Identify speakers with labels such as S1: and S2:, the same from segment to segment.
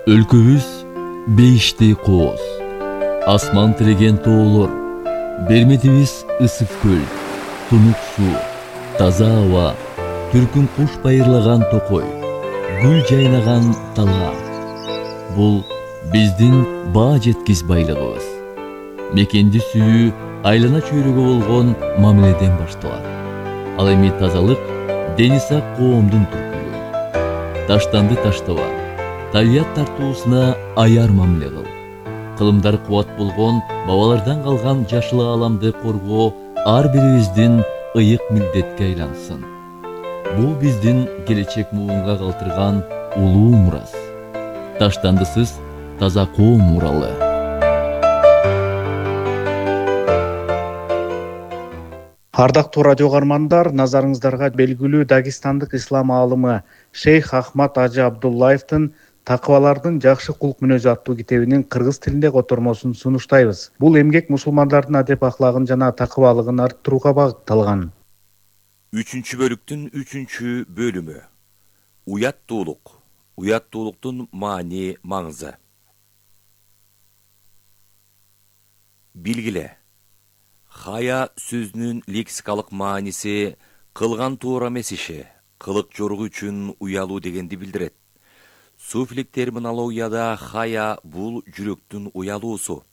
S1: Өлкөбүз бейиштей кооз, асман тиреген тоолор, берметибиз ысык көл, тунук суу, таза аба, түркүн куш байырлаган токой, гүл жайнаган дала. Бул биздин баа жеткис байлыгыбыз. Мекенди сүйүү айлана чөйрөгө болгон мамиледен башталат. Ал эми тазалык дени сак коомдун түркүлүгү. Таштанды таштаба, табият тартуусуна аяр мамиле кыл. Кылымдар кубат болгон бабалардан калган жашыл ааламды коргоо ар бирибиздин ыйык милдетке айлансын. Бул биздин келечек муунга калтырган улуу мурас. Таштандысыз таза коом муралы.
S2: Ардактуу радио каармандар, назарыңыздарга белгилүү дагестандык ислам аалымы Шейх Ахмад Ажы Абдуллаевдин Такыбалардын жакшы кулк мүнөзү аттуу китебинин кыргыз тилинде котормосун сунуштайбыз. Бул эмгек мусулмандардын адеп аклагын жана такыбалыгын арттырууга багытталган.
S3: 3-бөлүктүн 3-бөлүмү. Уяттуулук. Уяттуулуктун маани, маңызы. Билгиле. Хая сөзүнүн лексикалык мааниси кылган туура эмес иши, кылык жоругу үчүн уялуу дегенди билдирет. Суфилик терминологияда хая бул жүрөктүн уялуусу.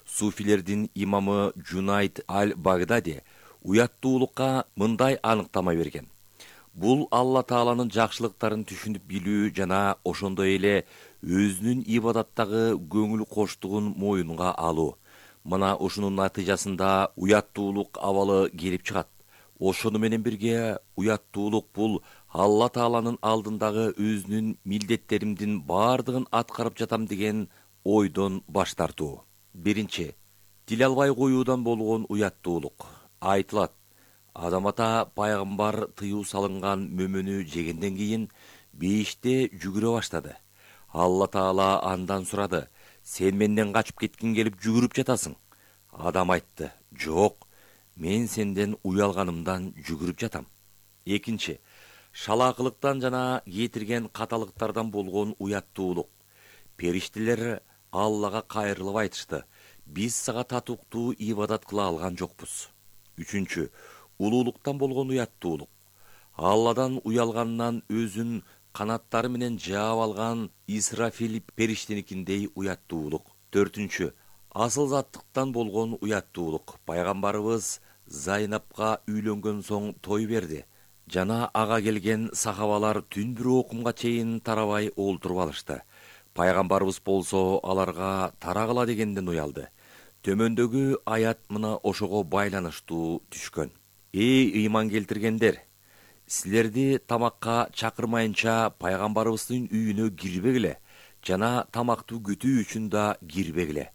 S3: Суфилердин имамы Джунайд аль-Багдади уяттуулукка мындай аныктама берген. Бул Алла Тааланын жакшылыктарын түшүнүп билүү жана ошондой эле өзүнүн ибадаттагы көңүл коштугун моюнга алуу. Мына ушунун натыйжасында уяттуулук абалы келип чыгат. Ошону менен бирге уяттуулук бул Алла Тааланын алдындагы өзүнүн милдеттеримдин бардыгын аткарып жатам деген ойдон баш тартуу. Биринчи, тил албай коюудан болгон уяттуулук. Айтылат, Адам ата пайгамбар тыюу салынган мөмөнү жегенден кийин бейиште жүгүрө баштады. Алла Таала андан сурады: "Сен менден качып кеткиң келип жүгүрүп жатасың?" Адам айтты: "Жок, мен сенден уялганымдан жүгүрүп жатам." Экинчи, шалаакылыктан жана кетирген каталыктардан болгон уяттуулук. Периштелер Аллага кайрылып айтышты: "Биз сага татыктуу ибадат кыла алган жокпуз." Үчүнчү, улуулуктан болгон уяттуулук. Алладан уялганынан өзүн канаттары менен жаап алган Исрафил периштеникиндей уяттуулук. Төртүнчү, асыл заттыктан болгон уяттуулук. Пайгамбарыбыз Зайнапка үйлөнгөн соң той берди жана ага келген сахабалар түн бир окумга чейин тарабай олтуруп алышты. Пайгамбарыбыз болсо аларга тарагыла дегенден уялды. Төмөндөгү аят мына ошого байланыштуу түшкөн. Эй ыйман келтиргендер, силерди тамакка чакырмайынча пайгамбарыбыздын үйүнө кирбегиле жана тамактуу күтүү үчүн да кирбегиле.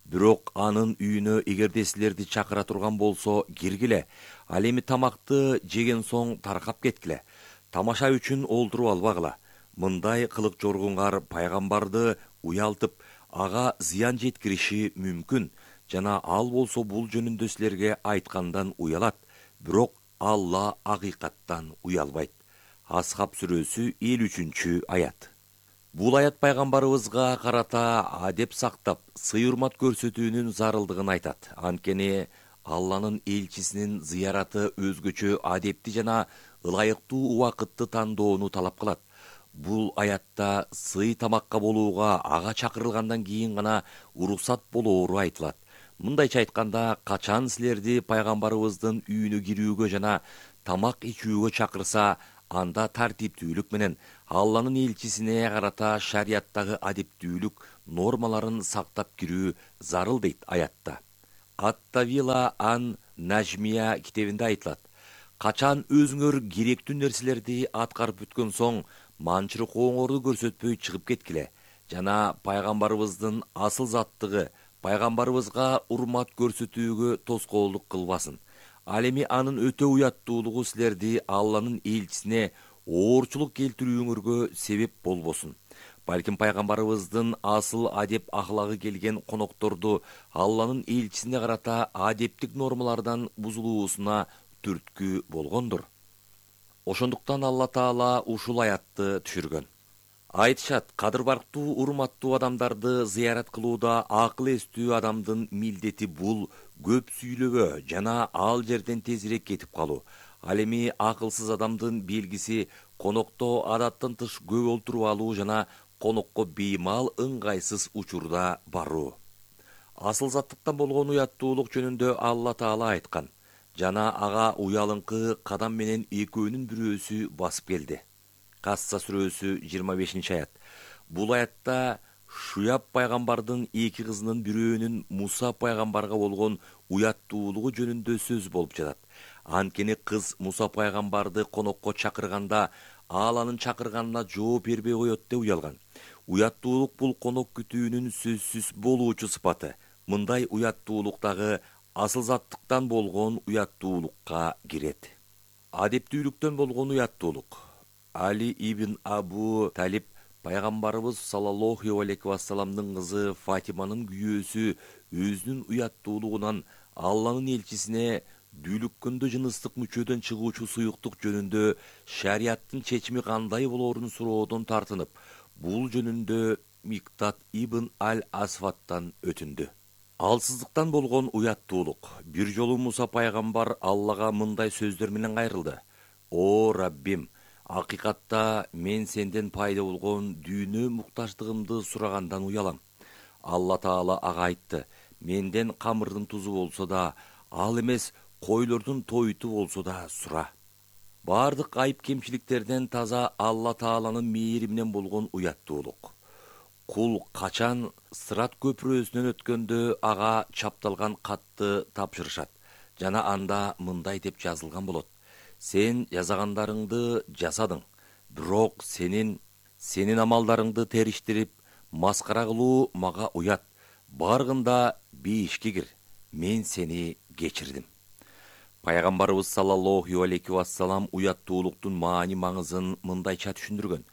S3: Бирок анын үйүнө эгерде силерди чакыра турган болсо киргиле. Ал эми тамакты жеген соң таркап кеткиле. Тамаша үчүн олтуруп албагыла. Мындай кылык жоргуңар пайгамбарды уялтып, ага зыян жеткириши мүмкүн жана ал болсо бул жөнүндө силерге айткандан уялат. Бирок Алла акыйкаттан уялбайт. Асхаб сүрөсү 53-аят. Бул аят пайгамбарыбызга карата адеп сактап, сый-урмат көрсөтүүнүн зарылдыгын айтат. Анткени Алланын элчисинин зыяраты өзгөчө адепти жана ылайыктуу убакытты тандоону талап кылат. Бул аятта сый тамакка болууга ага чакырылгандан кийин гана уруксат болоору айтылат. Мындайча айтканда, качан силерди пайгамбарыбыздын үйүнө кирүүгө жана тамак ичүүгө чакырса, анда тартиптүүлүк менен Алланын элчисине карата шарияттагы адептүүлүк нормаларын сактап кирүү зарыл дейт аятта. Ат-Тавила ан-Нажмия китебинде айтылат: "Качан өзүңөр керектүү нерселерди аткарып бүткөн соң, манчырыгооңорду көрсөтпөй чыгып кеткиле жана пайгамбарыбыздын асыл заттыгы, пайгамбарыбызга урмат көрсөтүүгө тоскоолдук кылбасын. Ал эми анын өтө уяттуулугу силерди Алланын элчисине оорчулук келтирүүңөргө себеп болбосун. Балким пайгамбарыбыздын асыл адеп ахлагы келген конокторду Алланын элчисине карата адептик нормалардан бузулуусуна түрткү болгондур." Ошондуктан Алла Таала ушул аятты түшүргөн. Айтышат, кадыр барктуу урматтуу адамдарды зыярат кылууда акыл эстүү адамдын милдети бул көп сүйлөбө жана ал жерден тезирээк кетип калуу. Ал эми акылсыз адамдын белгиси конокто адаттан тыш көп олтуруп алуу жана конокко беймал ыңгайсыз учурда баруу. Асыл заттыктан болгон уяттуулук жөнүндө Алла Таала айткан жана ага уялыңкы кадам менен экөөнүн бирөөсү басып келди. Касса сүрөсү 25-аят. Бул аятта Шуяб пайгамбардын эки кызынын бирөөнүн Муса пайгамбарга болгон уяттуулугу жөнүндө сөз болуп жатат. Анткени кыз Муса пайгамбарды конокко чакырганда ал анын чакырганына жооп бербей коет деп уялган. Уяттуулук бул конок күтүүнүн сөзсүз болуучу сыпаты. Мындай уяттуулук дагы асыл заттыктан болгон уяттуулукка кирет. Адептүүлүктөн болгон уяттуулук. Али ибн Абу Талиб пайгамбарыбыз саллаллаху алейхи вассаламдын кызы Фатиманын күйөөсү өзүнүн уяттуулугунан Алланын элчисине дүүлүккөндө жыныстык мүчөдөн чыгуучу суюктук жөнүндө шариаттын чечими кандай болоорун суроодон тартынып, бул жөнүндө Миктат ибн Аль-Асфаттан өтүндү. Алсыздыктан болгон уяттуулук. Бир жолу Муса пайгамбар Аллага мындай сөздөр менен кайрылды: "О Раббим, акыйкатта мен сенден пайда болгон дүйнө муктаждыгымды сурагандан уялам." Алла Таала ага айтты: "Менден камырдын тузу болсо да, ал эмес койлордун тойту болсо да сура." Бардык айып кемчиликтерден таза Алла Тааланын мээри менен болгон уяттуулук. Кул качан Сырат көпүрөсүнөн өткөндө ага чапталган катты тапшырышат жана анда мындай деп жазылган болот: "Сен жасагандарыңды жасадың, бирок сенин амалдарыңды териштирип, маскара кылуу мага уят. Баргында бейишке кир, мен сени кечирдим." Пайгамбарыбыз саллаллаху алейхи вассалам уяттуулуктун маани-маңызын мындайча түшүндүргөн: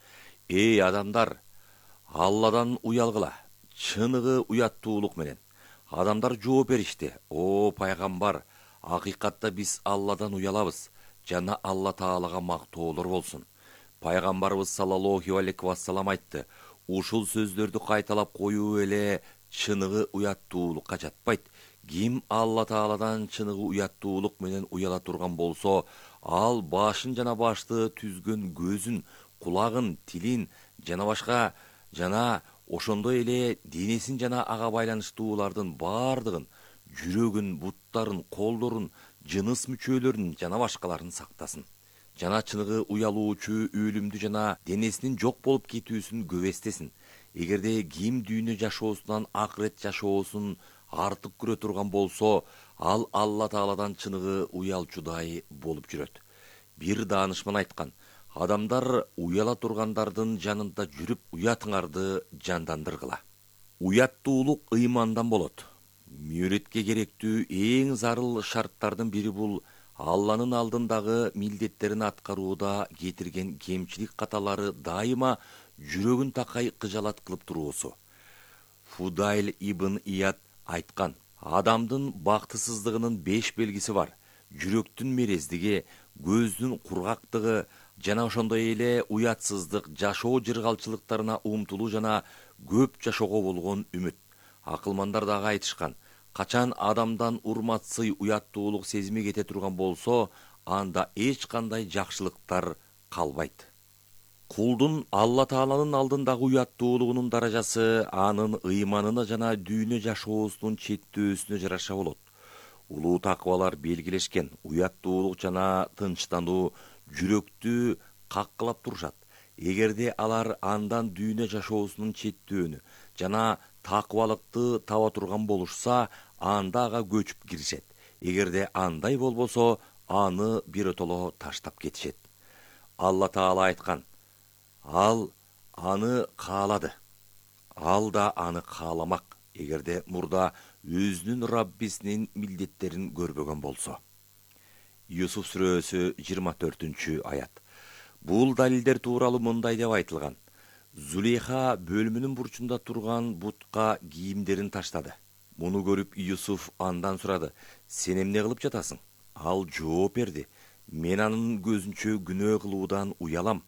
S3: "Эй адамдар, Алладан уялгыла, чыныгы уяттуулук менен." Адамдар жооп беришти: "О пайгамбар, акыйкатта биз Алладан уялабыз, жана Алла Таалага мактоолор болсун." Пайгамбарыбыз саллаллаху алейхи вассалам айтты: "Ушул сөздөрдү кайталап коюу эле чыныгы уяттуулукка жатпайт. Ким Алла Тааладан чыныгы уяттуулук менен уяла турган болсо, ал башын жана башты түзгөн көзүн, кулагын, тилин жана башка жана ошондой эле денесин жана ага байланыштуулардын бардыгын, жүрөгүн, буттарын, колдорун, жыныс мүчөлөрүн жана башкаларын сактасын. Жана чыныгы уялуучу өлүмдү жана денесинин жок болуп кетүүсүн көбестесин. Эгерде ким дүйнө жашоосунан акырет жашоосун артык көрө турган болсо, ал Алла Тааладан чыныгы уялчудай болуп жүрөт." Бир даанышман айткан: "Адамдар уяла тургандардын жанында жүрүп, уятыңарды жандандыргыла." Уяттуулук ыймандан болот. Мүрөткө керектүү эң зарыл шарттардын бири бул Алланын алдындагы милдеттерин аткарууда кетирген кемчилик каталары дайыма жүрөгүн такай кыжалат кылып туруусу. Фудайл ибн Ияд айткан: "Адамдын бактысыздыгынын 5 белгиси бар: жүрөктүн мерездиги, көздүн кургактыгы жана ошондой эле уятсыздык, жашоо жыргалчылыктарына умтулуу жана көп жашоого болгон үмүт." Акылмандар дагы айтышкан: качан адамдан урматсый уяттуулук сезими кете турган болсо, анда эч кандай жакшылыктар калбайт. Кулдун Алла Тааланын алдындагы уяттуулугунун даражасы анын ыйманына жана дүйнө жашоосунун четтөөсүнө жараша болот. Улуу такыбалар белгилешкен: уяттуулук жана тынчтануу жүрөктү каккылап турушат. Эгерде алар андан дүйнө жашоосунун четтөөнү жана такыбалыкты таба турган болушса, анда ага көчүп киришет. Эгерде андай болбосо, аны биротоло таштап кетишет. Алла Таала айткан: "Ал аны каалады, ал да аны кааламак, эгерде мурда өзүнүн Раббисинин милдеттерин көрбөгөн болсо." Юсуф сүрөсү 24-аят. Бул далилдер тууралуу мындай деп айтылган: Зулейха бөлмөнүн бурчунда турган бутка кийимдерин таштады. Муну көрүп Юсуф андан сурады: "Сен эмне кылып жатасың?" Ал жооп берди: "Мен анын көзүнчө күнөө кылуудан уялам."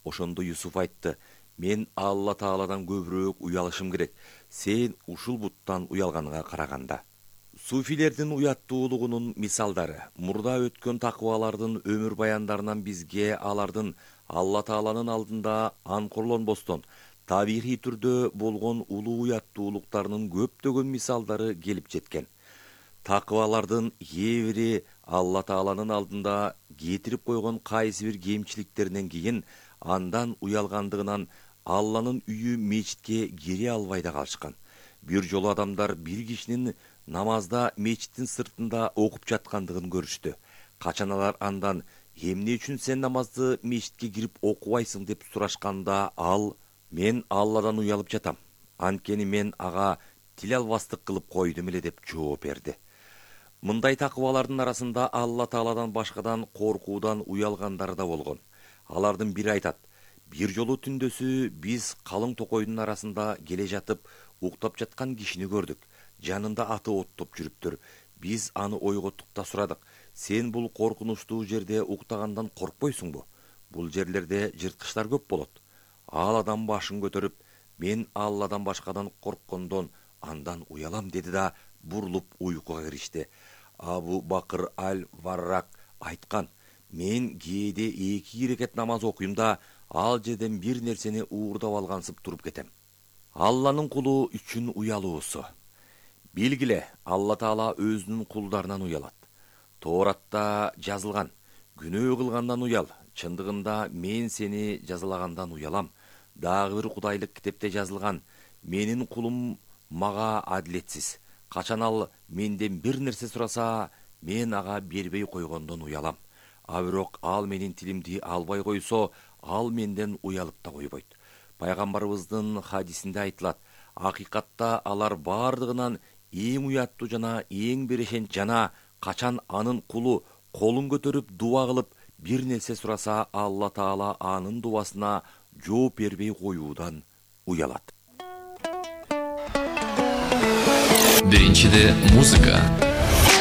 S3: Ошондо Юсуф айтты: Мен Алла Тааладан көбүрөөк уялышым керек. Сен ушул буттан уялганыңа караганда. Суфилердин уяттуулугунун мисалдары мурда өткөн такыбалардын өмүр баяндарынан бизге алардын Алла Тааланын алдында анкорлонбостон табигый түрдө болгон улуу уяттуулуктарынын көптөгөн мисалдары келип жеткен. Такыбалардын кээ бири Алла Тааланын алдында кетирип койгон кайсы бир кемчиликтеринен кийин андан уялгандыгынан Алланын үйү мечитке кире албай да калышкан. Бир жолу адамдар бир кишинин намазда мечиттин сыртында окуп жаткандыгын көрүштү. Качан алар андан эмне үчүн сен намазды мечитке кирип окубайсың деп сурашканда ал: мен Алладан уялып жатам. Анткени мен ага тил албастык кылып койдум эле деп жооп берди. Мындай такыбалардын арасында Алла Тааладан башкадан коркуудан уялгандары да болгон. Алардын бири айтат: бир жолу түндөсү биз калың токойдун арасында келе жатып уктап жаткан кишини көрдүк. Жанында аты оттоп жүрүптүр. Биз аны ойготтук да сурадык: сен бул коркунучтуу жерде уктагандан коркпойсуңбу? Бул жерлерде жырткычтар көп болот. Ал адам башын көтөрүп: мен Алладан башкадан корккондон андан уялам деди да бурулуп уйкуга киришти. Абу Бакыр аль-Варрак айткан: мен кээде 2 рекет намаз окуйм да ал жерден бир нерсени уурдап алгансып туруп кетем. Алланын кулу үчүн уялуусу. Билгиле, Алла Таала өзүнүн кулдарынан уялат. Тооратта жазылган: күнөө кылгандан уял. Чындыгында мен сени жазалагандан уялам. Дагы бир кудайлык китепте жазылган: менин кулум мага адилетсиз. Качан ал менден бир нерсе сураса, мен ага бербей койгондон уялам. А бирок ал менин тилимди албай койсо, ал менден уялып да койбойт. Пайгамбарыбыздын хадисинде айтылат: акыйкатта алар бардыгынан эң уяттуу жана эң берешен жана качан анын кулу колун көтөрүп дуа кылып бир нерсе сураса, Алла Таала анын дубасына жооп бербей коюудан уялат.
S1: Биринчиде музыка,